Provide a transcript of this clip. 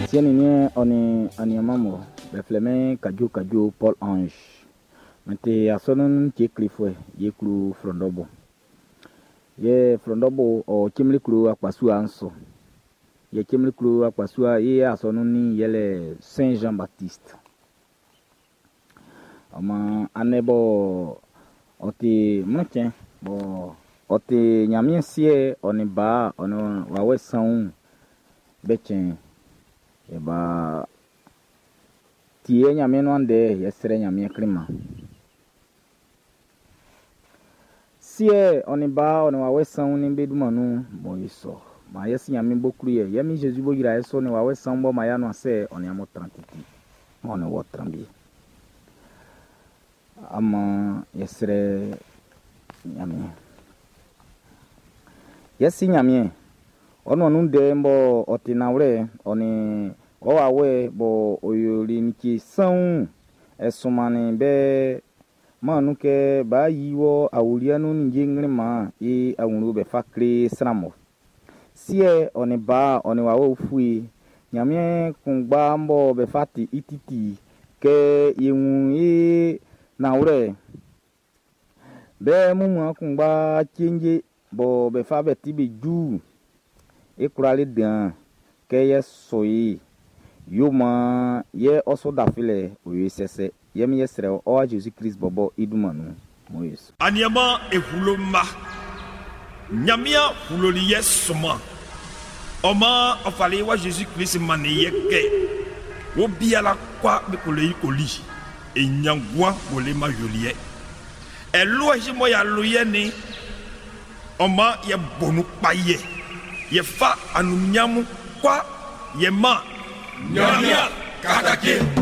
Siɛ nin niɛn ɔ nin aniaan mun, be flɛ min Kadjo Kadjo Paul Ange. Min ti asɔnun ce klefuɛ ye klo Flɔndɔbo. Yɛ Flɔndɔbo ɔ Cemli klo akpasua'n su. Yɛ Cemli klo akpasua i asɔnun nin yɛlɛ Saint Jean Baptiste. Ɔ maan andɛ bɔ ɔ ti mlɔncɛn bɔ ɔ ti Ɲanmiɛn Siɛ ɔ nin Ba ɔ nin Wawɛ Sanwun be cɛn. Yɛ ba tie Ɲanmiɛn nuan ndɛ yɛ srɛ Ɲanmiɛn kleman. Siɛ ɔ nin Ba ɔ nin Wawɛ Sanwun be dunman nun mɔ i sɔ. Maan yɛ si Ɲanmiɛn bo klu yɛ yɛ min Jésus bo yra yɛ sɔ nin Wawɛ Sanwun bɔ maan y'a nuan sɛ ɔ nin amun tran titi. Ɔ nin wɔ tran bi. Ama yɛ srɛ Ɲanmiɛn. Yɛ si Ɲanmiɛn. Ɔ nuan nun ndɛ'n bɔ ɔ ti nanwlɛ ɔ nin ɔ wawɛ bɔ ɔ yoli like sanwun ɛ sunmannin be maan nun kɛ b'a yi wɔ awuliɛ nun ninnge ngleman i awlo be fa kle sran mun. Siɛ ɔ nin Ba ɔ nin Wawɛ Ufue Ɲanmiɛn kunngba bɔ be fa ti i titi kɛ ye wun i nanwlɛ be mumua kunngba cenje bɔ be fa be ti be ju e kwlali dan kɛ yɛ sɔ yi yo maan yɛ ɔ sɔ dafilɛ o ye sɛsɛ yɛ mi yɛ srɛ ɔ wa Jésus Christ bɔbɔ i dunman nun mo ye sɔ. Aniama ehulo ma Ɲanmiɛn huloli yɛ sɔman ɔ maan ɔ fali wa Jésus Christ mannin yɛ kɛ wo biala kwa be ko le yi ko li e ɲangua wo le ma yoliɛ ɛlo ɛsi mɔ ya lo yɛ ni ɔ maan yɛ bɔnu kpa yɛ yɛ fa anunyamu kwa yɛ ma Ɲanmiɛn katake.